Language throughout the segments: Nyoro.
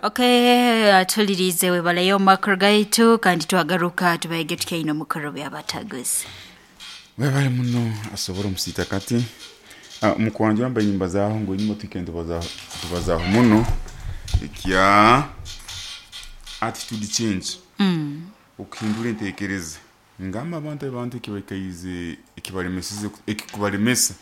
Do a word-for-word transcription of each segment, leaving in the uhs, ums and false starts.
Okay, atulirize webaleyo makuru gaitu kandi twagaruka tubaige tukaino mukuru byabataguzi. Webale muno asobora omusita kati uh, mukwanja wambaye nyimba zaho ngo nyuma tukende tubazaho tubazaho muno ekya attitude change mm. Okuhindura entekereza ngamba abantu abantu ekibaikaize ekibalemesize ekikubalemesa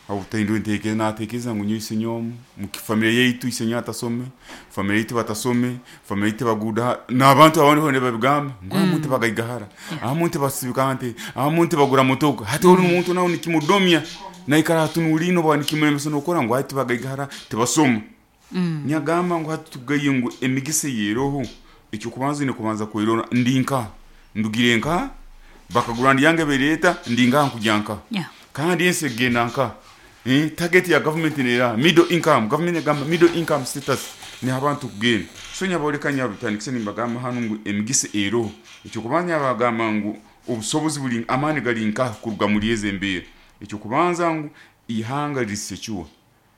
obutahindura entekereza natekereza ngu nyowe isenyomu mu familia yaitu isenyo atasome familia yaitu batasome familia yaitu baguda n'abantu abandi bone babigamba ngu mm. Amuntu bagaigahara amuntu basibika nte amuntu bagura motoka hati ori omuntu nawe nikimudomya naikara hatunulino bwa nikimulemesa nokora ngu hati bagaigahara tebasoma mm. Nyagamba ngu hati tugaye ngu emigisa yeroho ekyo kubanza ni kubanza kwirora ndinka ndugire nka bakagura ndiyange bereta ndinga nkujyanka yeah. Kandi ensi genda nka eh target ya government nera middle income government egamba middle income status ni abantu kugenda so nyaboleka nyabutandikise nimbagamba hano ngu emigisa ero ekyo kubanya bagamba ngu obusobozi buli amani gali nka kuruga muri eze embere ekyo kubanza ngu ihanga risecure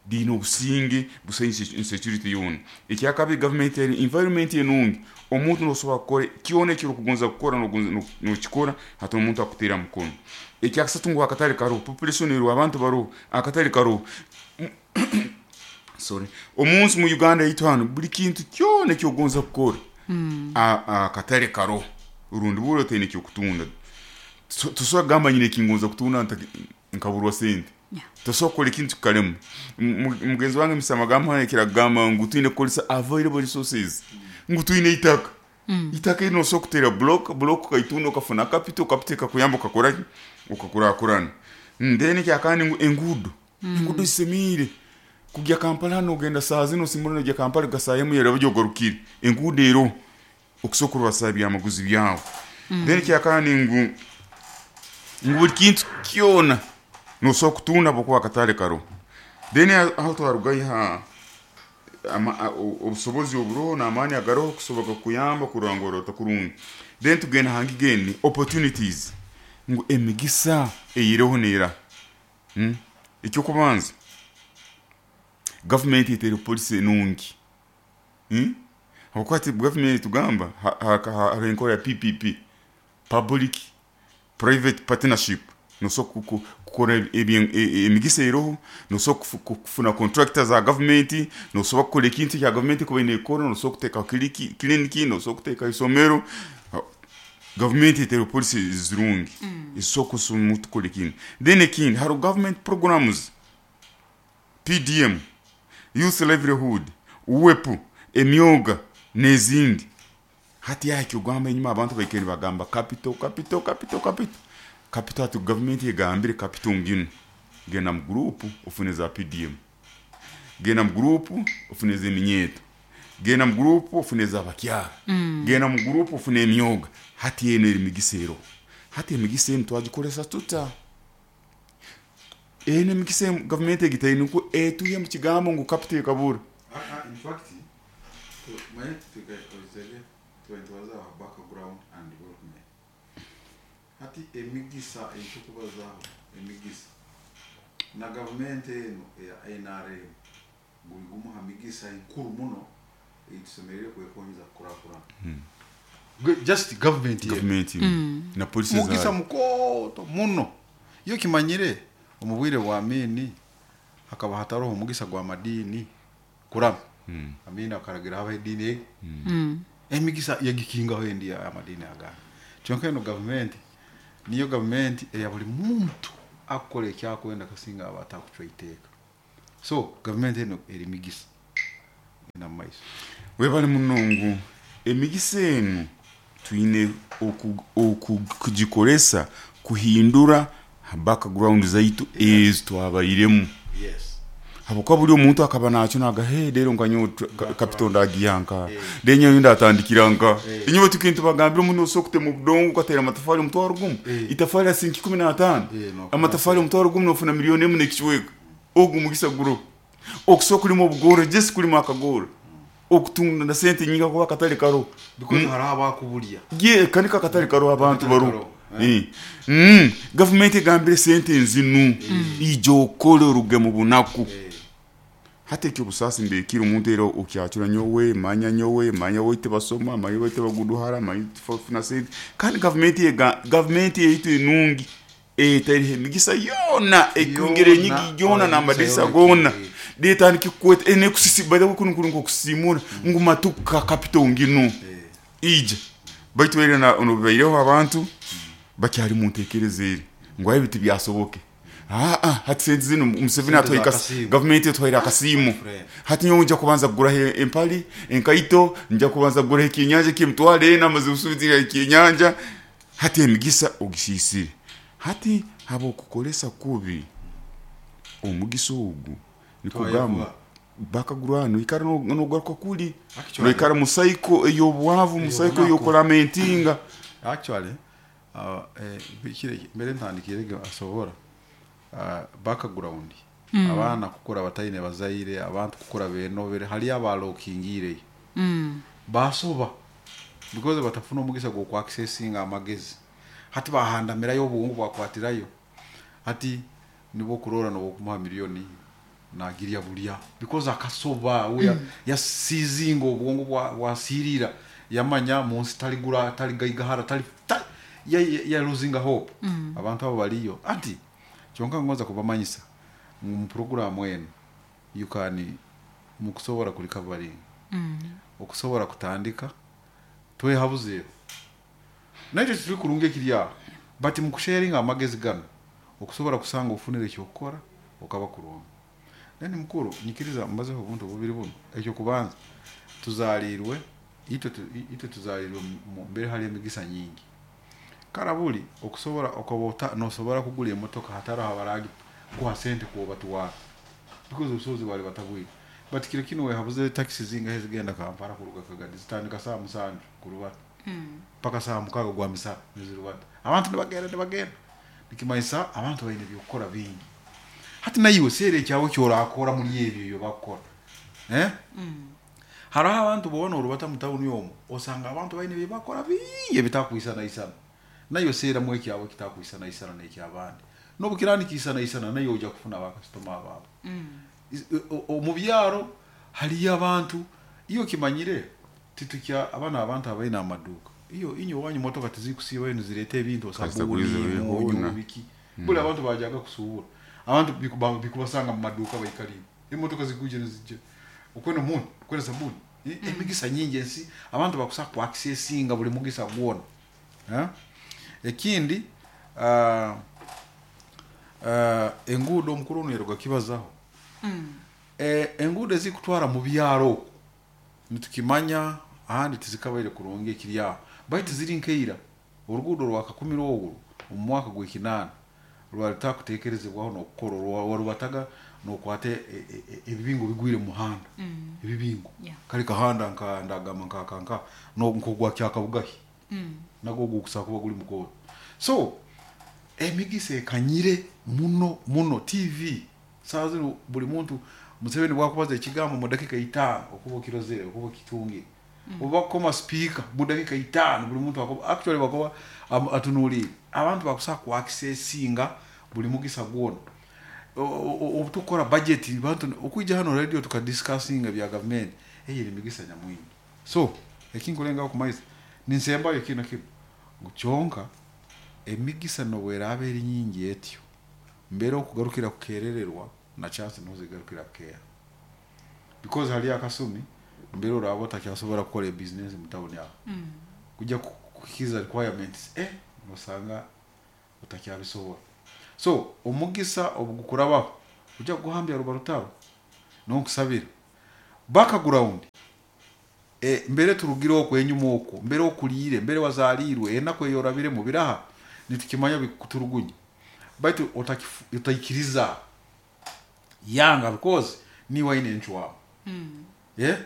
dino obusinge busenye insecurity yona ekyakabi government eri environment enungi omuntu nosobola kukora kyona ekyo kugonza kukora nogonza nokikora hati omuntu akutera mukono ekyakasatu ngu akatale karo population ero abantu baro akatale karo sorry omunsi mu Uganda yitu hano buli kintu kyona ekyogonza kukora mm. Akatale karo urundi bulo tene kyo kutunda tusobola gamba nyine kingonza kutunda nkaburwa sente. Yeah. Tosobola ekintu kalemu mugenzi wange misama hano kiragamba ngu twine kukozesa available resources ngu twine itaka mm. Itaka ino so kutera block block kaitunda okafuna capital capital kakuyamba okakora okakurakurana then kyakandi ngu engudo mm. Engudo isemire kujya Kampala hano ogenda saa zino simurano kujya Kampala gasayemu yera byo engudo ero okusokorwa basabya amaguzi byawo mm. Then kyakandi ngu ngu buli kintu kyona nosobola kutunda bokuba akatale karo then aho twarugayo ha obusobozi oburoho n'amaani agaroho kusobola kuyamba kurangorota kurungi then tugenda hangi geni opportunities ngu emigisa eyireho nera hmm? Ekyo kubanza government etere policy enungi hmm? Hakuba government tugamba ha enkora ya P P P public private partnership nosobola kukora emigisa eroho nosobola kufuna contractors za government nosobola kukora ekintu kya government kuba nekora nosobola kuteeka clinic nosobola kuteeka isomero government etere policy zirungi esobola kusoma tukora ekintu then ekindi haro government programs P D M youth livelihood U W E P emyoga n'ezindi hati yakyo gamba enyuma abantu baikere bagamba capital capital capital capital capital atu government yegambire capital ngino genda mu group ufuneza P D M genda mu group ufuneza eminyeto genda mu group ufuneza abakyara mm. Genda mu group ufune emyoga hati eno eri migisero hati emigisa eno twagikolesa tuta eno emigisa government egitaine ku etuye mu kigambo ngu capital kabura uh, in fact mwe tukakozele tuwaza background and development hati emigisa ekyokubazaho emigisa na government eno eya N R M guli gumu ha migisa enkuru muno etusemerere kwekonyeza kukurakurana hmm. Just government government mm. Na policy mugisa mukoto muno iyo kimanyire omubwire bwa Amini hakaba hataroho omugisa gwa madini kurama mm. Amini akaragira haba edini mm. mm. Emigisa yagikingaho endi ya madini agana kyonka eno government niyo government eya buli muntu akora ekyakwenda kasinga abatakucwa iteeka so government eno eri migisa ina maiso webale munongo emigisa eno twine okugikoresa kuhindura background zaitu ezo twabairemu. Yes habwokuba buli omuntu akaba nakyo naga hey rero nkanyo capital ndagiyanka denyo ndatandikira nka inyo tukintu bagambira omuntu osobola kutema obudongo ukatera amatafari omutwaro gumu itafari ya sinki kumi na tano amatafari omutwaro gumu nofuna miliyoni emu n'ekichweka ogu mugisa guro okusobola kulima obugoro jesi kulima akagoro okutunda na sente nyinga kuba akatale karo because hariho abakubulya ye kanika akatale karo abantu baro eh mm government egambire sente nzinu ijo okole oruge mu bunaku. Hati ekyobusaasi mbekire omuntu era okyacura nyowe manya nyowe manya woite basoma manya woite baguduhara manya tufuna sente kandi gavumenti yega gavumenti yaitu enungi etariho emigisa yoona ekwingira enyigi yoona n'amadirisa goona detandika kukweta enekusisi by the way kunu kuri nkokusiimura ngu matuka capital nginu ija baitu era na nobaireho abantu bakyali mu ntekereza eri ngu ebi tibyasoboke. Ah ah hati sente zinu Museveni Sente atwaire za kas- kasiimo. gavumenti etwaire akasiimo. Friend. Hati nyowe nja kubanza kuguraho empali enkaito, nja kubanza kuguraho ekyenyanja eky'emitwaro ena amaze kusuubira ekyenyanja. Hati emigisa ogisiisire. Hati habw'okukoresa kubi omugisa ogu nikugamba Twayevuga. bakagurwana noikara no- nogaruka kuli Actually- noikara mu cycle ey'obwavu mu cycle Ey'obunaku. ey'okulamentinga. Actually uh, eh, bikire mbere ntandikire asobora uh, background mm. Abaana kukura bataine bazaire, abantu kukura benobere, hali abalokingireyo Mm. basoba because batafuna omugisa gw'okwaccessinga amagezi. Hati bahandamirayo obwongo bwakwatirayo, hati nibwo kurora nobwokumuha miliyoni nagirya bulya because akasoba we mm. yasizinga obwongo bwa- bwasirira yamanya munsi taligura taligaigahara tali ta, ya, ya, ya losing hope mm. Abantu abo baliyo ati kyonka ngoza kubamanyisa mu program eno you can mukusobora kurecovering Mm. okusobora kutandika twehabuzeeho nakyo kituli kurungi ekiri aho but mukusharinga amagezi gano okusobora kusanga ofunire ekyokukora okaba kurungi. Then mukuru nyikiriza mbazeho obuntu bubiri buno. Ekyokubanza tuzaliirwe itwe tu- itwe tuzaliirwe mu mbere hali emigisa nyingi karabuli okusobora okaba ota- nosobora kugura emotoka hataraho abaragi kuha sente kuobatwara because obusobozi bwali batabwire. But kiro kino wehabuze taxi zingahe zigenda Kampala kuruga Kagadi zitandika saa musanju kurubata paka saa mukaaga gwa misana nizirubata abantu nibagenda nibagenda nikimanyisa abantu baine byokukora bingi. Hati naiwe seera ekyawe kyorakora muri ebyo ebyo bakukora eh? Hariho abantu boona orubata mu tawuni omwo osanga abantu baine byebakora bingi ebitakwisanaisana nayo seeramu ekyawe kitakwisanaisana n'ekyabandi n'obukirandikisanaisana nayo ojja kufuna bakasitoma abaabo. Is- o- o- omu byaro haliyo abantu iyo kimanyire titukya abana abantu abaine amaduuka iyo inyo wanyu motoka tizikusiibayo nizireeta ebintu Kasita osabuni kuliza munyu bihuna. biki buli abantu bajaga kusuubura abantu bikuba- bikubasanga mu maduuka baikaliire emotoka zikuje nizijja okwenda omunyu okwenda sabuni. E- emigisa nyingi ensi abantu bakusa kuaccessinga buli mugisa gwona. Eh? Ekindi ah, ah, enguudo omukuru ono yaruga kibazaho. Eh, enguudo ezikutwara mu byaro okwo nitukimanya ahandi tizikabaire kurungi ekiri aho baitu ziri nkeira oruguudo rwa kakumiro ogwo omu mwaka gw'ekinaana rwali rutakuteekerezebwaho n'okukora warubataga n'okwata e- e- e- ebibingo bigwire mu muhanda ebibingo. Yeah. Kali kahanda nka ndagamba nka nka no nkogwa kyakabugahi nagwo gukusa kuba guli mukoro. So emigisa ekanyire muno muno. T V saa zino buli muntu Museveni bwakubaza ekigambo mu dakika itaano okuba okirozere okuba okitungire oba koma speaker mu dakika itaano buli muntu akoba actually bakoba am- atunuulire abantu bakusa ku accessinga buli mugisa gwona. Obu tukora budget bantu okwijja hano radio tukadiscussinga bya gavumenti eyo eri migisa nyamwingi. So ekinkulengaho kumaiza ninsembayo kino kino ngu kyonka emigisa nobweraaba eri nyingi etyo mbere okugarukira kukerererwa na chance nozigarukira kukeera because hali akasumi mbere oraba otakyasobora kukora ebizinesi mu tawuni aho kujja ku- kukiza requirements eh nosanga otakyabisobora. So omugisa obugukurabaho ojja kuguhambya ruba rutaro nonkusabira background e, mbere turugire okwo enyuma okwo mbere okuliire mbere wazaliirwe enaku eyorabiremu biraha nitukimanya bikuturugunya baitu otakifu- otaikiriza yanga because niwe aine enchwamu mm. Yeah?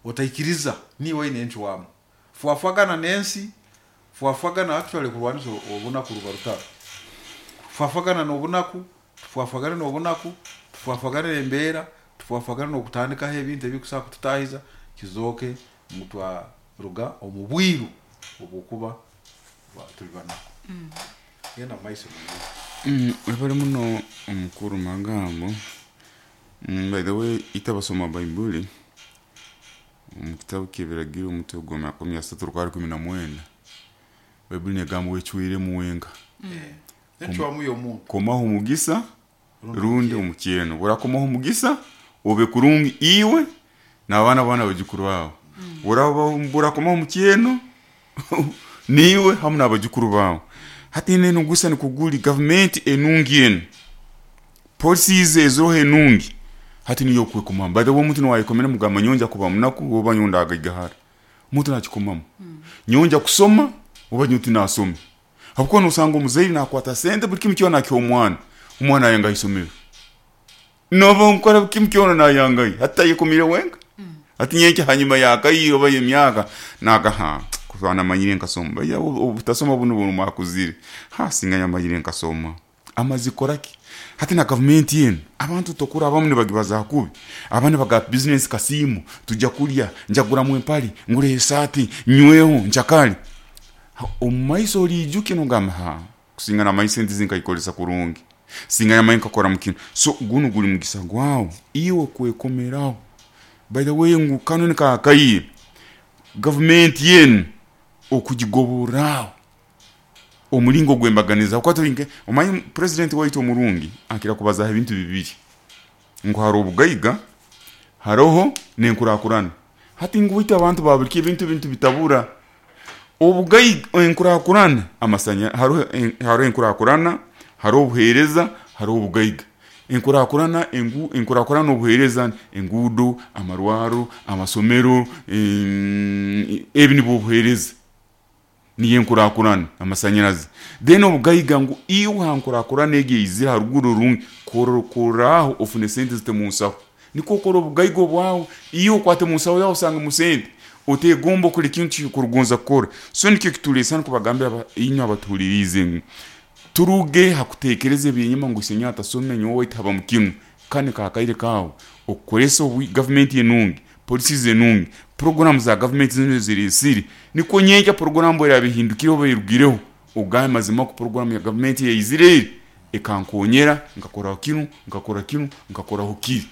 Otaikiriza niwe aine enchwamu fwafagana n'ensi fwafagana actually kurwanisa obunaku ruba rutaro tufwafagana n'obunaku tufwafagana n'obunaku tufwafagana n'embeera tufwafagana n'okutandikaho ebintu ebikusobola kututahiza kizooke ngu twaruga omu bwiru obwokuba ba- tuli banaku. Genda mu maiso. Mm, webale muno omukuru magambo. Mm, by the way itabasoma baibuli omu kitabu ky'ebiragiro omutwe gwa makumi asatu rukari kumi na mwenda baibuli negamba wecwiremu wenka Encwamu y'omuntu komaho omugisa rundi omukyeno burakomaho omugisa obe kurungi iwe n'abaana baana abajukuru bawe buraba burakomaho omukyeno niwe hamu n'abajukuru bawe hati neno gusa nikuguli gavumenti enungi enu policies eziroho enungi hati niyo okwekomamu by the way omuntu niwayekomera mugamba nyonja kuba munaku oba nyonda agaigahara omuntu nakikomamu nyonja kusoma oba nyowe tinasome habwokuba nosanga omuzaire nakwata sente buli kimu kyona akiha omwana omwana ayanga isomero noba nkora buli kimu kyona nayangayo hati tayekomire wenka hati nyenkya hanyuma yakaire oba yemyaka nagaha kuba namanyire nkasoma baiya obutasoma bunu bunu mwakuzire ha singa nyamanyire nkasoma amazi koraki hati na gavumenti yenu abantu tokura abamu nibagibaza kubi abandi baga business kasimu tujja kulya njaguramu empali ngure esaati nyweho njakali omumaiso oliijuke nogamba ha kusinga namanyi sente zinkayikolesa kurungi singa namanyi nkakora mukino so gunu guli mugisa gwawe iwe kwekomeraho by the way ngu kano nikakaire gavumenti yenu okugigoborraho omulingo gwembaganiza kuba tulinke omanyi president waitu omurungi akira kubazaho ebintu bibiri ngu hariho obugaiga haroho n'enkurakurana hati ngu waitu abantu babulika ebintu ebintu bitabura obugaiga enkurakurana amasanya hariho hariho enkurakurana hariho obuheereza hariho obugaiga enkurakurana engu enkurakurana obuheereza enguudo amarwaro amasomero em, ebi nibwo obuheereza niyo enkurakurana amasanyarazi then obugaiga ngu iwe ha nkurakurana egi eizire haruguru rurungi korokoraho ofune sente zite munsaho nikwo okora obugaiga obwawe iwe okwate munsaho yawe osangemu sente otegomba okora ekintu kyokurugonza kukora so nikyo kituleesa nikubagambira aba- inywe abatuhuliriize ngu turuge hakutekereza ebyenyuma ngu isenyowe atasome nyowe waitu haba mukinu kani kakaire kawe okukoresa obu gavumenti enungi policies enungi program za gavumenti zino ziresire nikwo nyenkya program erabihindukire oba erugireho ogambe mazima ku program ya gavumenti ya Israel ekankonyera nkakoraho kinu nkakora kinu nkakoraho kiri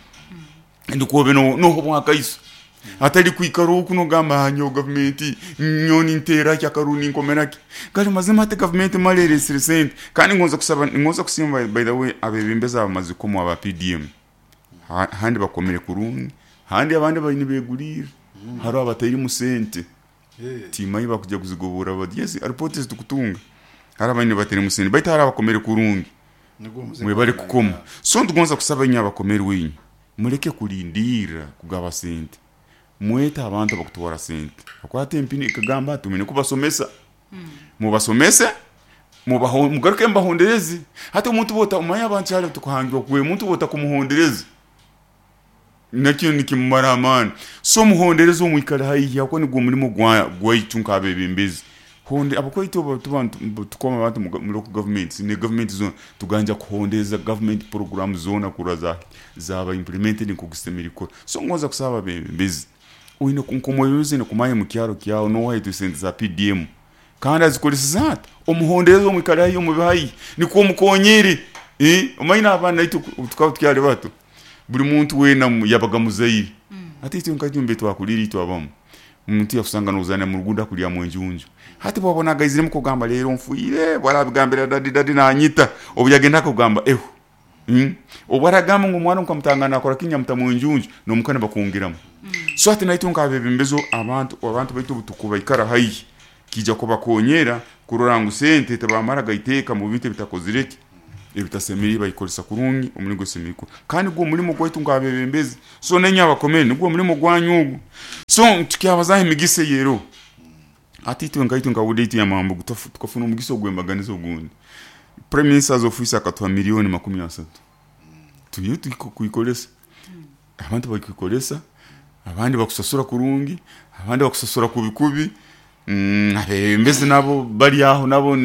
ndikuobe no noho bwakaiso atali kwikara oku nogamba hanyo gavumenti nyoni ntera kyakaruni nkomeraki kali mazima ate gavumenti maleresire sente kandi ngonza kusaba ngonza kusimba by the way abebembezi abamazikomo aba P D M Ha- handi bakomere kurungi handi abandi bayini begulire hariho abatairimu sente timanyi bakujja kuzigobora bati yes report zitukutunga hari abayini batarimu sente baitu hari abakomere kurungi mwebale kukoma so ntugonza kusaba inye abakomere wenyu muleke kulindira kugaba sente mwete abantu abakutwara sente akwate empini ekagamba tumene kubasomesa mubasomese mubaho mugaruke mbahondereze hati omuntu bota omanya abantu kyali tukuhangirwa kuwe omuntu bota kumuhondereza nakyo nikimumara amaani so muhondereze omwikale haihi ako nigwo omulimo gwa gwaitu nk'abebembezi honde abakwaitu abo tuba ntu- tukoma abantu mu mu local governments ne government zona tuganja kuhondeza government program zona kura za zaba implemented nkokusemera ikora so ngonza kusaba abebembezi oine nkomwebembezi nekumanya mu kyaro kyawe nowaitu sente za P D M kandi azikoleseza ati omuhondereze omwikale haihi omube haihi nikwo omukonyere eh omanyi abaana naitu tukaba tukyali bato buli muntu wena mu- yabaga muzaire ate itwe nka tumbe twakulira itwe abamu omuntu yakusanga nozana mu rugudo akulya mu enjunju hati bwabona agaiziremu kugamba leero nfuire bwarabigambira dadi dadi nanyita obu yagenda akugamba eho mm. obu aragamba ngu omwana nkamutangana akora kinya mutamu enjunju nomukana bakungiramu so ati naitwe nkabebembezo abantu abantu baitu obutukubaikara haihi kija kubakonyera kurora ngu sente tebamara gaiteeka mu bintu ebitakozireki ebitasemeriire bayikolesa kurungi omulingo esemeriire kandi gwo omulimo gwaitu nk'abebembezi so nenye abakomere nigwo omulimo gwanyu ogwo so tukyabazaho emigisa eyero ati itwe nkaitu nkawuda itu yamambugu tukafuna omugisa ogw'embaganiza ogundi prime minister's office akatuha miliyoni makumi asatu tuyo tukuikolesa abantu bakikolesa abandi bakusasura kurungi abandi bakusasura kubi kubi mm, abebembezi nabo bali aho nabo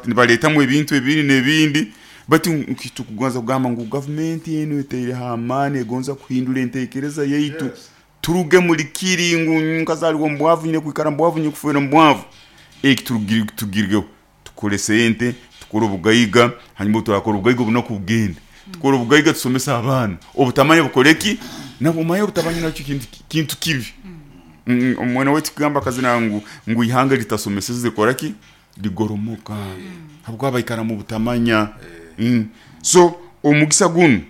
nibaletamu ebintu ebindi n'ebindi bati tukugonza kugamba ngu gavumenti eno eteire amaani egonza kuhindura entekereza yaitu Yes. turuge muri kiri ngu nkazaliwa mbwavu nyine kwikara mbwavu nyine kufuera mbwavu eki turugirweho tukore sente tukore obugaiga hanyuma turakora obugaiga obunaku bugende Tukora obugaiga tusomesa abaana. Obutamanya bukoreki? Nabwo manya obutamanya nakyo kintu kintu kibi. Mm, omwana wetu kugamba akazina ngu ngu ihanga litasomeseze koraki ligoromoka. Habwokuba baikara mu butamanya. Mm. So omugisa gunu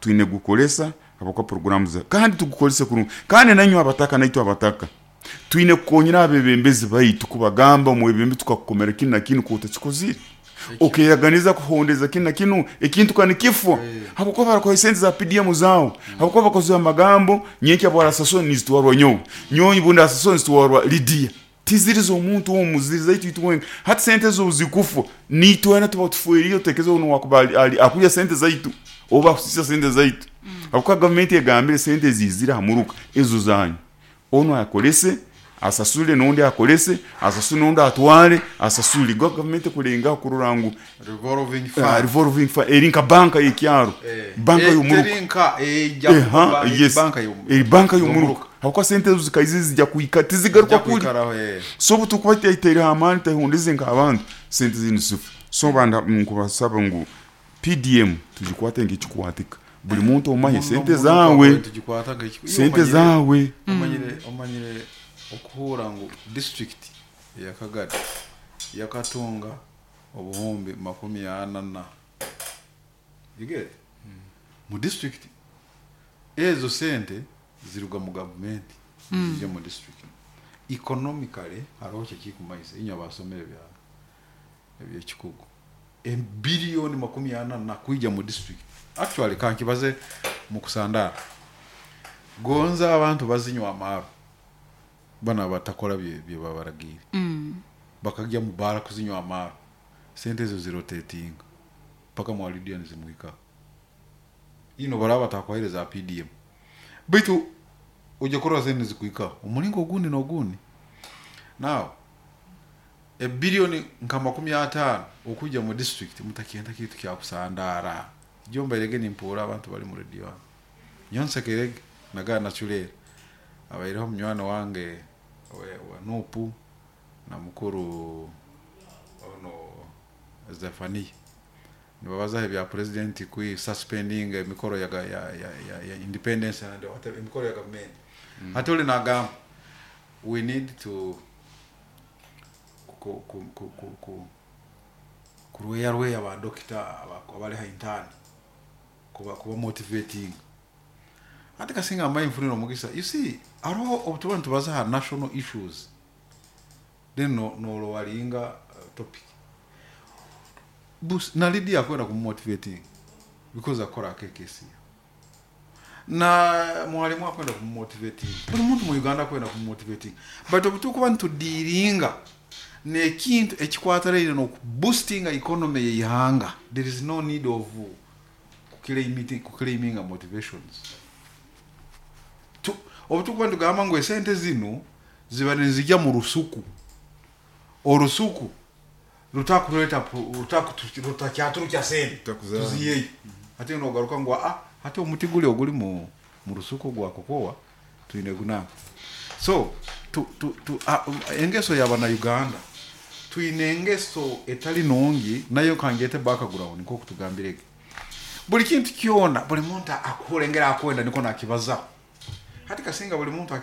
twine gukoresa habwokuba programu za kandi tugukorese kurungi. Kandi nanywe abataka naitwe abataka twine kukonyera abebembezi baitu kubagamba omwebembe tukakukomera kinu na kinu kuutakikozire okeyaganiza kuhondeza kinu na kinu ekintu kani kifwa habwokuba barakuha sente za P D M zao, habwokuba bakoze amagambo nyenkya bwarasasoni nizitwarwa nyowe nyonyi bundi asasoni nizitwarwa Lydia tiziriza omuntu omu ziri zaitu itwenga hati sente zo zikufwa nitwena tuba tufuiriyo tekeza ono wakuba akulya sente zaitu oba kusisa sente zaitu habwokuba gavumenti egambire sente zizira hamuruka ezo zanyu ono akolese asasule n'ondi akolese asasule n'ondi atwale asasule gwa gavumenti kulenga kurora ngu revolving fund uh, revolving fund eri nka banka y'ekyaro banka y'omuruka erinka ejja banka y'omuruka banka y'omuruka habwokuba sente ezo zikaizi zijja kuika tizigaruka kuli so butukuba tyaiteire amaani tehundize nk'abantu sente zinu zifa so banda nkubasaba ngu P D M tugikwate nk'ekikwatika buli muntu omahe sente zawe sente zawe omanyire omanyire okuhura ngu district ya Kagadi yakatunga obuhumbi makumi ana na you get mm. Mu district ezo sente ziruga mu government mm. Zijya mu district economically hariho kikumaisa inya basomere bya ebyekikugu e billion makumi ana na kuija mu district actually kankibaze mu kusandara gonza abantu bazinywa amaro bana batakora bye bye babaragire mm. Bakajya mu bara kuzinywa amaro sente ezo zirotating paka mu Lydia nzimuika ino baraba takwahereza P D M bitu ujya kurora sente zikuika omulingo ogundi n'ogundi now e billion nka makumi atano okujja mu district mutakenda kitu kya kusandara jomba irege nimpura abantu bali mu radio nyonsekerege naga nachulera abaireho munywana wange wa Nupu na mukuru ono Zefani nibabaza ebya president kui suspending emikoro ya ya ya, ya, ya independence and whatever emikoro ya government mm. Ate oli nagamba we need to ku ku ku ku, ku kurweya rweya ba doctor abali ha intern kuba kuba motivating ate kasinga amayi mfuniro omugisa you see aroho obutuba ntubaza national issues then no no lowalinga uh, topic bus na Lydia akwenda ku motivating because akora K K C na mwalimu akwenda ku motivating buli muntu mu Uganda akwenda ku motivating but obutukuba ntudiringa nekintu ekikwataraire no boosting economy y'ihanga there is no need of kuclaiming kuclaiming motivations obutukuba ntugamba ngu esente zino ziba nizijja mu rusuku orusuku rutakureta rutakyaturuka sente tuziyeyo ate nogaruka ngu ah ate omuti guli oguli mu mu rusuku gwa kokowa tuine gunaka so tu tu, tu ah, engeso yabana Uganda tuine engeso etali nongi nayo kangete background nko kutugambirege buli kintu kyona buli muntu akurengera akwenda niko nakibaza hati kasinga buli muntu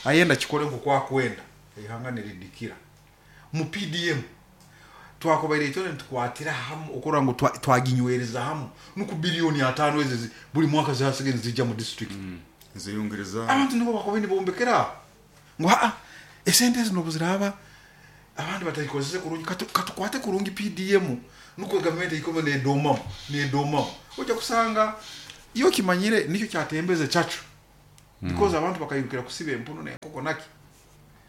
ayenda kikole nko kwa kwenda ihanga niridikira mu P D M twakobaire itone tukwatira hamu okora ngo twaginywereza hamu nuku bilioni atano ezi buli mwaka zasigaye zijja mu district mm. Ziyongereza abantu nibo bakobeni bombekera ngo ha esente zino buziraba abandi batayikozese kurungi katukwate kurungi P D M nuko government ikome ne doma ne doma ojja kusanga iyo kimanyire nicyo cyatembeze chacho mm. Because abantu bakayirukira kusiba empuno ne koko naki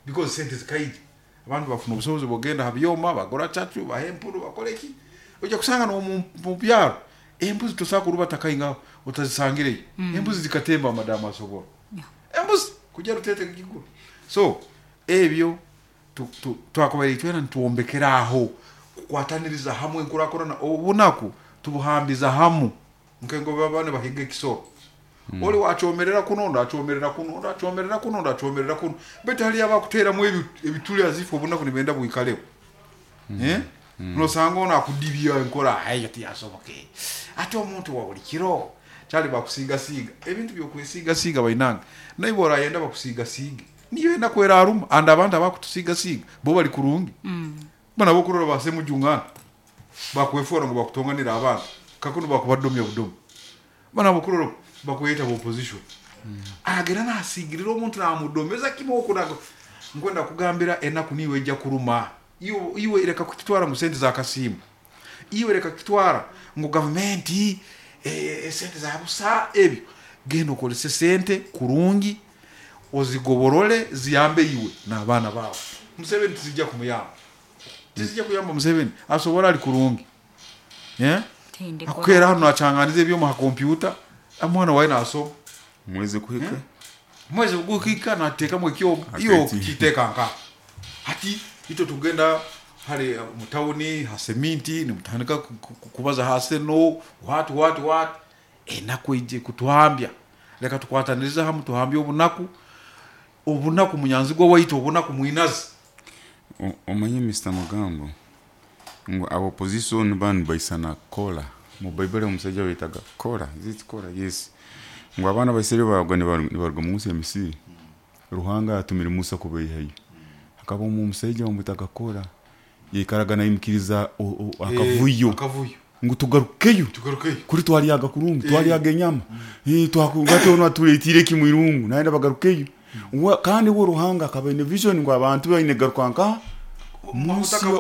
because sente zikaije abantu bafuna obusobozi bogenda habyoma bagora chachu bahempuru bakoleki ojja kusanga no mu byaro embuzi tosakuruba takayinga utazisangire mm. Embuzi zikatemba madama asobola yeah. Embuzi kujja rutete kiguru so ebyo twakobaire twena ntuombekera aho kukwataniriza hamwe nkurakorana obunaku tubuhambiza hamu nkengo babane bahiga ekisoro mm. Oli wachomerera kuno ndo achomerera kuno ndo achomerera kuno ndo achomerera kuno bete hali abakutera mu ebituli azifu obunaku nibenda buikaleo mm. Eh Nosanga ono akudibya enkora ayo tiyasoboke. Ate omuntu wa buli kiro kyali bakusigasiga ebintu byokwesiga bainanga naye borayenda bakusigasiga niyo enda kwera aruma and abantu abakutusigasiga bo bali kurungi mm. Bana bokurora basemujungana bakwefora ngo bakutonganira abantu kakuno bakubadomya budomo bana bokurora bakweta opposition mm. Agera nasigirira omuntu namudomeza kimoko nago nkwenda kugambira enaku niwe ejja kuruma iwe iwe reka kukitwara mu sente za kasimu iwe reka kukitwara ngo government eh sente za busa ebyo genda okolese sente kurungi ozigoborole ziyambe iwe n'abaana bawe. Museveni tizijja kumuyamba, tizijja kuyamba Museveni asobora ali kurungi eh akukera hano achanganize ebyo mu computer amwana wawe naso mweze kuhika eh? Mweze kuhika nateka mu kyo iyo kiteka nka hati ito tugenda hali mutawuni haseminti ni mutandika kubaza hase no what what what enaku ije kutuhambya leka tukwataniriza hamu tuhambye obunaku obunaku munyanzigwa waitu obunaku mwinazi. Omanye Mister Magambo ngo abo opposition ban baisana kola mu Bible omusajja wetaga kola is it kola yes ngo abana baisere bagwa ne barwa mu nsi ya Misiri Ruhanga atumira Musa kubeyihayo akaba mu musajja wamutaga kola yikaraga nayimkiriza akavuyo akavuyo ngo tugarukeyo tugarukeyo kuri twaliyaga kurungu twaliyaga enyama eh twakunga ono atuletire kimwirungu naenda bagarukeyo kandi wo Ruhanga akaba ine vision ngo abantu baine garukanka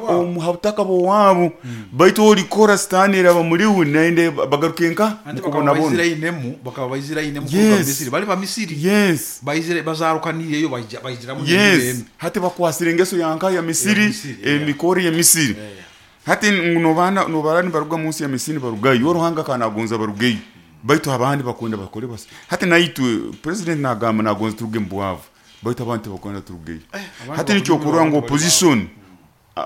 omuhabutaka bwabo baitu olikora stanira bamuriwe naende bagarukenka mukubona bona baizirainemu bakaba baizirainemu kuruga Misiri bali ba Misiri yes baizire bazarukaniyeyo bayijira mu yes hati bakwasira engeso yanka ya Misiri emikori ya Misiri hati nobana nobarani baruga munsi ya Misiri barugayo Ruhanga kanagonza barugayo baitu abandi bakunda bakore basi hati naitwe president nagamba nagonza turuge mbwavu baitu abantu bakunda turugeyo hati nicyo kurwa ngo opposition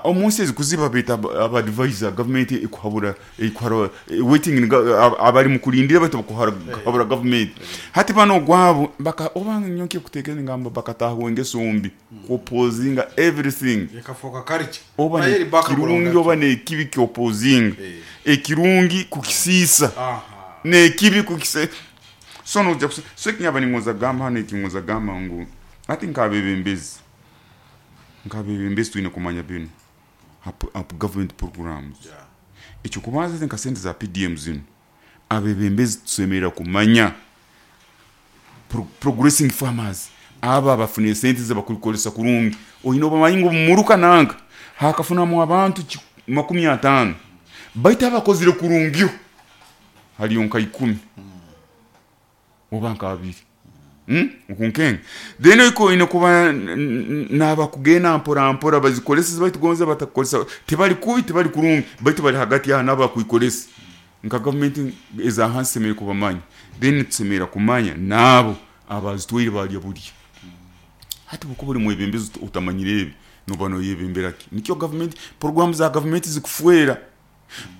omunsi ezikuziba bita aba advisor government ikuhabura ikuhara waiting abali mukulindira baitu bakuhabura government hati bano gwabo baka obanga nyonke kutekeza ngamba bakataho engeso mbi opposing everything yakafoka karichi oba kirungi oba ne kibi ki opposing ekirungi kukisisa ne kibi kukise sono so kinyaba ningoza gamba hano ekingoza gamba ngu ati nkabebembezi nkabebembezi tuine kumanya bino up government programs yeah. Ekyo kubanza nka sente za P D M zino abebembezi tusemerera kumanya Pro, progressing farmers aba bafune sente zabakulikolesa kurungi oyino bamanyi ngo muruka nanga hakafuna mu abantu makumi atano baita abakozire kurungi haliyo nka ikumi oba nka abiri Mm? Ukunkenga then iko ine kuba nabakugena mpora mpora bazikolesa baitu gonza batakolesa tebali kubi tebali kurungi baitu bali hagati ya naba kuikolesa nka government eza hansi semere kubamanya then tsemera kumanya nabo abazitwire bali buli hati buko buli mwebembezi utamanyire ebi nobano yebemberaki nikyo government program za government zikufuera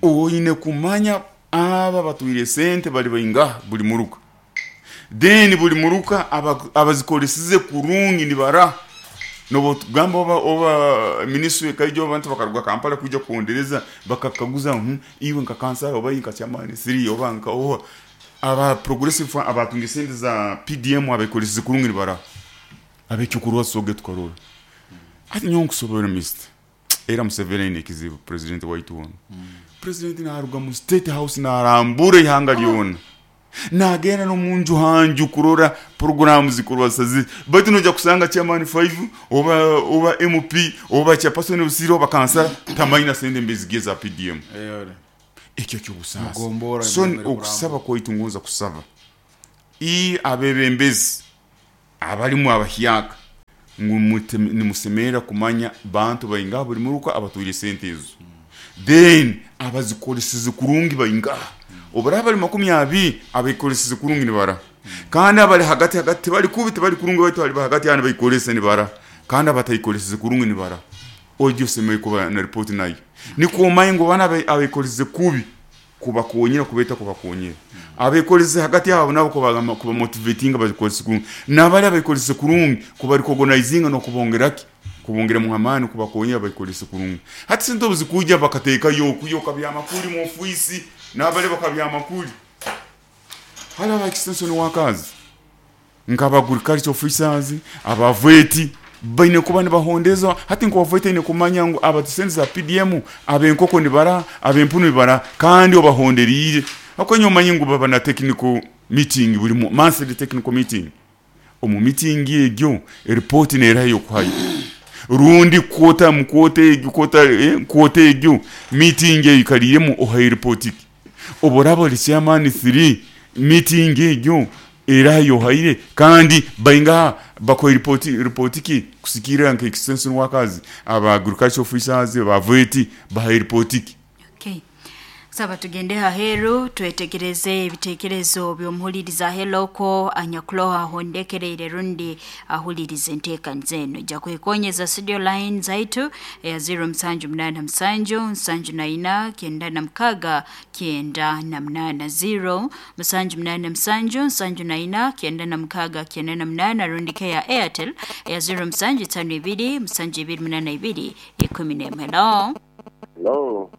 oyine kumanya aba batwire sente bali bayinga buli muruka then buli muruka abazikolesize kurungi nibara nobo tugamba oba oba ministry kaijo abantu bakaruga Kampala kuja kuondereza bakakaguza hmm, iwe nka kansala oba nka chairman three oba nka oba aba progressive abatunga sente za P D M abakolesize kurungi nibara abekyukurwa soge tukarora ati nyo nkusobora mister era Museveni ne kizibu president waitu ono mm. President naruga mu state house narambure ihanga lyona nagenda no munju hanju kurora program zikorwa sazi baitu noja kusanga chairman five oba oba M P oba chairperson usiro oba kansala tamaina sende mbezige za P D M ekyo kyo busasa so okusaba koitungonza kusaba i abebembezi abalimu abahyaka ngu nimusemera kumanya bantu bayinga buli muruka abatwire sente ezo then abazikoleseze kurungi bayinga obara bali makumi abiri abayikoleseze kurungi nibara kandi abali hagati hagati bali kubi bali kurungi baitu bali hagati yana bayikolese nibara kandi abatayikoleseze kurungi nibara ojo semeye kuba na report nayo niko mayengo bana abayikoleseze kubi kubakonyera kubeta kubakonyera abayikoleseze hagati yabo nabo kuba kuba motivating abayikoleseze kurungi nabali abayikoleseze kurungi kuba recognizinga no kubongeraki Kubongeremu amaani kubakonyera bayikolese kurungi. Hati sente obu zikujja bakateekayo okuyo kabyamakuli mu ofiisi n'abale bakabyamakuli. Hali aba extension workers nk'aba agriculture officers, aba V E T baine kuba nibahondezwa. Hati nka V E T aine kumanya ngu aba sente za P D M, ab'enkoko nibara, ab'empunu nibara, kandi obahonderiire. Akonya omanye ngu baba na technical meeting buli mu- monthly technical meeting. Omu meeting egyo eripoti neeraha ey'okuhayo rundi kwota mu kwota egyo kwota eh, kwota egyo meeting eyo ikaliiremu ohayo ripoti ki. Obu oraaba ori chairman three meeting egyo eraha yohaire kandi baingaha bakuha ripoti ripoti ki kusikirira nka extension workers, aba agriculture officers, aba V E T bahayo ripoti ki. Okay. Saba tugende haheru twetegereze ebitekerezo by'omuhuliriza heloko anyakuloha ahondekereire rundi ahuliriza enteekaniza eno. Ijja kwekonyeza studio line zaitu eya zero musanju munaana musanju nsanju na ina kyenda na mukaga kyenda na munaana, zero musanju munaana musanju nsanju na ina kyenda na mukaga kyenda na munaana, rundi ke ya Airtel eya zero musanju itano ibiri musanju ibiri munaana ibiri ikumi n'emwe. Hello. Hello.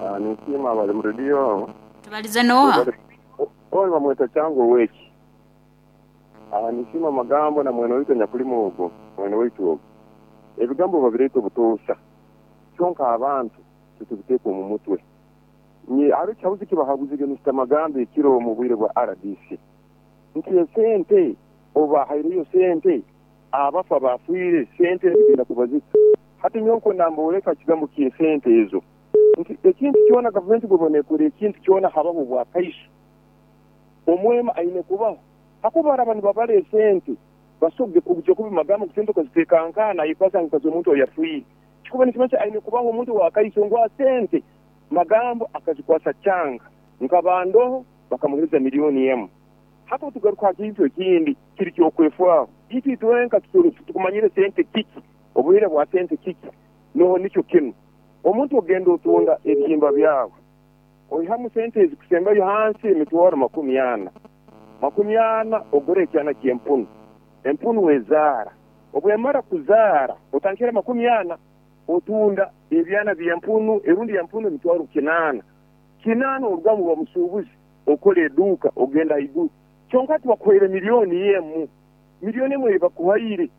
Ah, ninsima bali mu radio. Tubalize noha? Oyo bamweta Chango weki. Ah, ninsima magambo na mwene waitu nyakulima ogwo, mwene waitu ogwo. Ebigambo babireeta obutoosha. Kyonka abantu tutubiteeka omu mutwe. Nye hariho ekihabuzi kibahabuzire Mister Magambo ekiro omu bwire bwa R D C. Nti esente obahaireyo sente abafa bafiire sente zigenda kubazika. Hati nyowe nkwenda kigambo ky'esente ezo. Nti ekintu kyona gavumenti bwebona ekora ekintu kyona habaho bwakaiso. Omwema aine kubaho. Hakuba araba nibabara esente basobwe kujja kubi magambo kusente okaziteekankana ayikwasa nkazi omuntu oyafiire. Kikuba nikimanyisa aine kubaho omuntu wakaiso ngu asente magambo akazikwasa kyanga nkabandoho bakamuhereza miliyoni emu. Hati tugaruka aha kintu ekindi kiri kyokwefwaho. Itwe itwenka tukumanyire sente kiki, obuhire bwa sente kiki, noho nikyo kinu. Omuntu ogenda otunda ebihimba byawe oihamu sente ezikusembayo hansi emitwaro makumi ana makumi ana ogure ekyana ky'empunu, empunu ezaara, obwemara kuzaara otandikira makumi ana otunda ebyana by'empunu erundi empunu emitwaro kinaana kinaana orugamu oba musuubuzi okora eduuka ogenda haiguru. Kyonka tibakuhaire miliyoni emu, miliyoni emu eyibakuhaire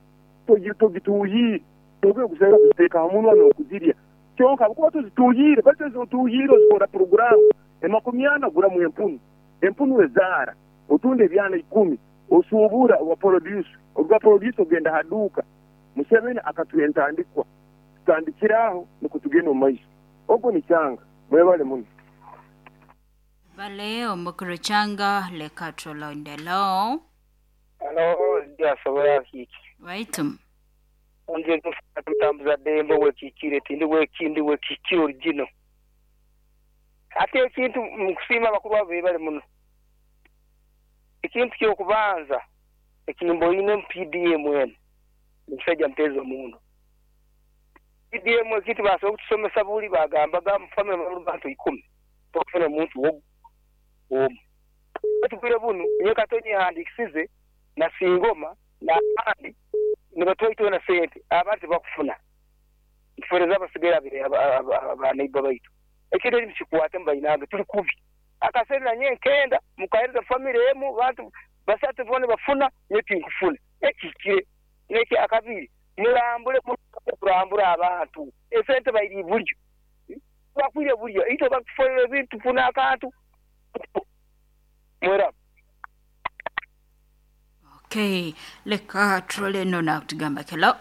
togituuhiire togiye kuzaira kuziteeka ha munwa n'okuzirya. Kyonka habwokuba tozituuhiire, baitu ezi otuuhiire ozikora puroguraamu emakumi ana oguramu empunu, empunu ezaara otunda ebyana ikumi osuubura oba produce, oruga produce ogenda ha duuka. Museveni akatuha entandikwa, tutandikire aho nukwo tugende omu maiso. Ogwo nikyanga mwebale muno. Bale omukuru Changa leka tulondelo. Halo, ndyasobola kiki. Waitu. Nje mutambuza ddembe wekikire tindi wekindi wekikire original. Ate ekintu mukusiima abakuru abo bebale muno. Ekintu kyokubanza ekimboine mu P D M eno omusajja mpeeza omuno. P D M ekintu basobola okutusomesa buli bagambaga mu family bali bantu ikumi tokufuna omuntu ogu omu. Tubwire bunu nyowe kato nyehandikisize na singoma n'abandi nibatwaitwe na sente abandi tibakufuna. Ntufereza abasigaire abaneiba baitu. Ekintu eki mukikwate mubainange tuli kubi. Akasente nanye nkenda mukahereza family emu bantu basatu boona bafuna nyowe tinkufuna. Ekihikire neki akabiri murambure kurambura abantu esente bairi buryo bakwire buryo itwe bakufolera ebintu tufuna akantu mwera. Okay, leka tulole no na kutugamba kelo.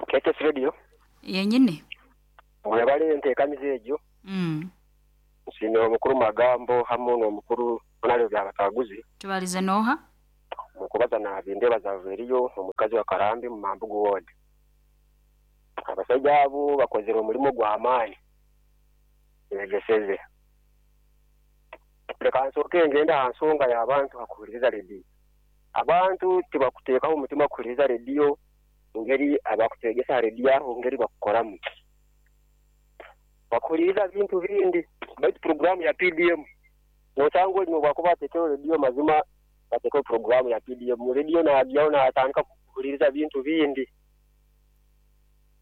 K T S Radio. Yenyini. Webale enteekaniza egyo. Mm. Nsiimira omukuru Magambo hamu n'omukuru Honaleo Byabakaguzi. Tubalize noha? Mukubaza nabindeba zaveriyo omukazi wa Karambi mu Mambugu ward. Abasajja abo bakozere omulimu gw'amaanyi begeseze. Leka nsooke ngenda ha nsonga y'abantu hakuhuliriza rediyo. Abantu tibakuteekaho omutima kuhuliriza rediyo ngeri abakutegesa rediyo aho ngeri bakukoramu. Bakuhuliriza bintu bindi baitu programu ya P D M nosanga oli nobwakuba atekeho rediyo mazima batekeho programu ya P D M rediyo najyaho natandika kuhuliriza bintu bindi.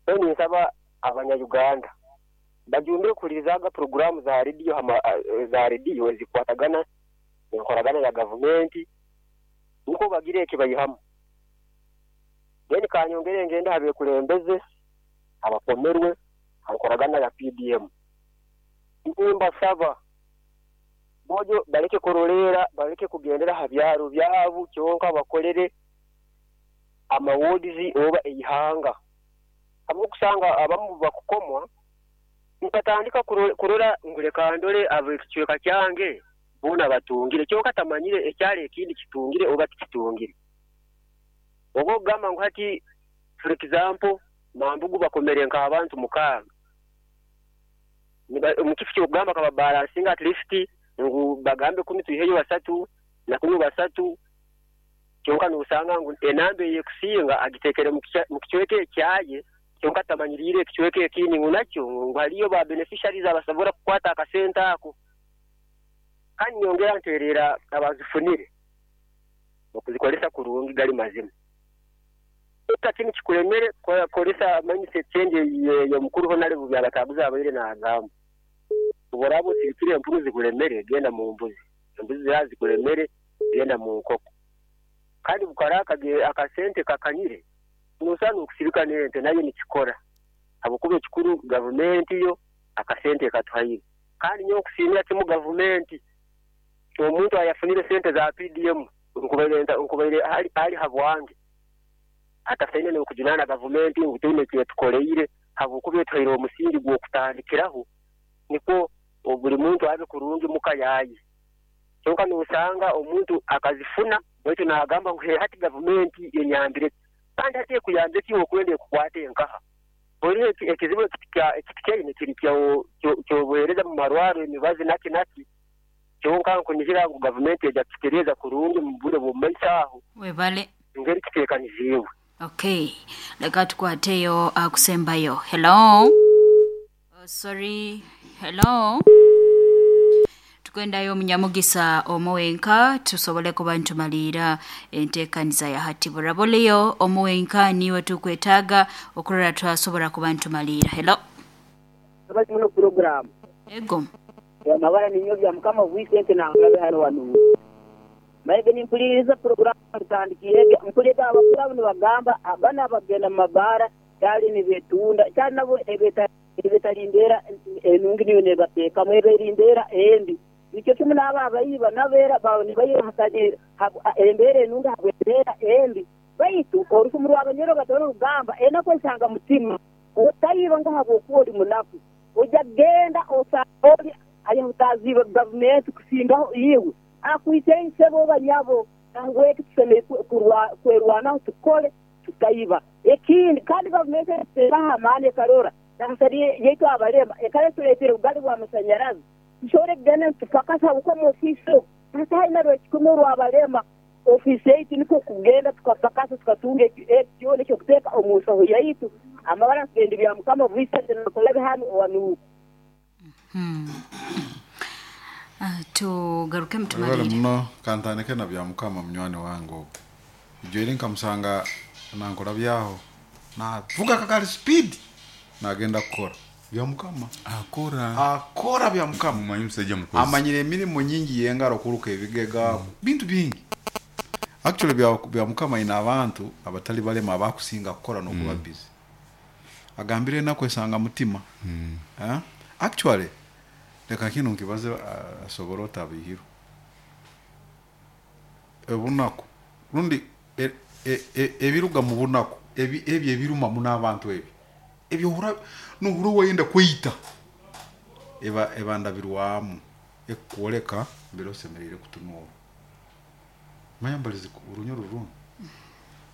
None nsaba abanya-Uganda bajumbire kuhulirizaga poroguramu za rediyo hama za rediyo ezikwatagana enkoragana ya gavumenti niko bagire ekibayihamu. Then kanyongere ngende abekulembeze abakomerwe ankoragana ya P D M. Mbasaba bojo baleke korolera baleke kugendera ha byaro byabu kyonka bakolere amawodizi oba eihanga. Abo kusanga abamu bakukomwa nkatandika kurora nguleka ndole abekicweka kyange bona batungire kyonka tamanyire ekyale ekindi kitungire oba tikitungire. Ogo gamba ngu hati for example mambugu bakomere nka abantu mukaaga mu kifo ky'okugamba kaba balancing at least ngu bagambe kumi tuiheyo basatu na kumi basatu kyonka n'osanga ngu enambe eyekusinga agitekere mu kicweka ekyaye kyonka tamanyirire ekicweka ekindi ngu nakyo ngu haliyo ba beneficiaries abasobora kukwata akasente ako. Kandi nyongera nterera abazifunire okuzikolesa kurungi gali mazima. Kini kikulemere kolesa mindset change ya mukuru honale byabatabuza abaire na agamba. Uborabo sirikire empunu zikulemere genda mu mbuzi. Embuzi zikulemere genda mu nkoko. Kandi bukaraka akasente kakanyire nusana okusirika nente nayo nikikora. Abukuba ekikuru government yo akasente katuhaire. Kandi nyo okusimira kimu government omuntu ayafunire sente za P D M nkubaire nkubaire ali ali habwange. Hata saine n'okujunana gavumenti ngu tuine kyetukoleire habwokuba etuhaire omusingi gw'okutandikiraho niko buli muntu abe kurungi muka yaye. Kyonka n'osanga omuntu akazifuna baitu n'agamba ngu hati gavumenti enyambire kandi hati ekuyambire ki okwenda ekukwate enkaha. Buli ekizibu ekikyaine kiri ky'obuheereza mu marwaro emibazi naki naki kyonka nkunihira ngu gavumenti ejja kukitereeza kurungi mu bwire bw'omu maiso aho. Webale. Ngeri kiteekaniziibwe. Okay, leka tukwateyo akusembayo. Hello. Oh, sorry. Hello. Tukwendayo munyamugisa omuwenka tusobole kuba ntumalira enteekaniza ya hati buraboleyo omuwenka niwe tukwetaaga okurora twasobora kuba ntumalira. Hello. Abali muno program. Ego. Ya mabara ninyo bya mukama Vincent na ngabe hano wanu. Maige nimpuliriza program tandikiye mpuliriza abakuru nibagamba abana bagenda mabara cyali nibetunda cyali nabo ebeta ebetalindera enungi niyo nebateka mweberindera embi nicyo kimwe n'aba abayiba nabera bawe nibayiba hasajira embere enungi habwera embi baitu orufumu rw'abanyoro batoro rugamba enako nsanga mutima otayiba ngo habwokuba ori munaku ojya genda osanga ari mutaziba government kusingaho yiwe akuite insebo banyabo nangwe tuseme kwerwana tukole tutayiba ekindi kandi government teraha mane karora nasari yetu abarema ekale tuletera ugali bwa masanyarazi tushore gena tufakasa uko mu ofisi hata ina rwekikumu rwabarema ofisi yetu niko kugenda tukafakasa tukatunga ekyo nicyo kuteka omusaho yaitu amabara kugenda bya mukama Vincent nakolabe hano wanu. Hmm. Uh, tugaruke mtumalire muno kantandike na bya mukama munywani wange ogwo ijo nkamusanga nankora byaho navuga kakali speed nagenda kukora bya mukama akora akora bya mukama mumanyi musajja mukozi amanyire emirimu nyingi yengaro kuruka ebigega mm. bintu bingi actually bya bya mukama ina abantu abatali balema abakusinga kukora no kuba mm. busy agambire nakwesanga mutima mm. eh actually leka kino nkibaze asobora otabihiro ebunaku rundi ebiruga mu bunaku ebi ebi ebiruma muno abantu ebi ebyo hura nuhuru wayenda kwita eba ebandabirwamu ekukoleka mbere osemerere kutunura mayambalize urunyoro runo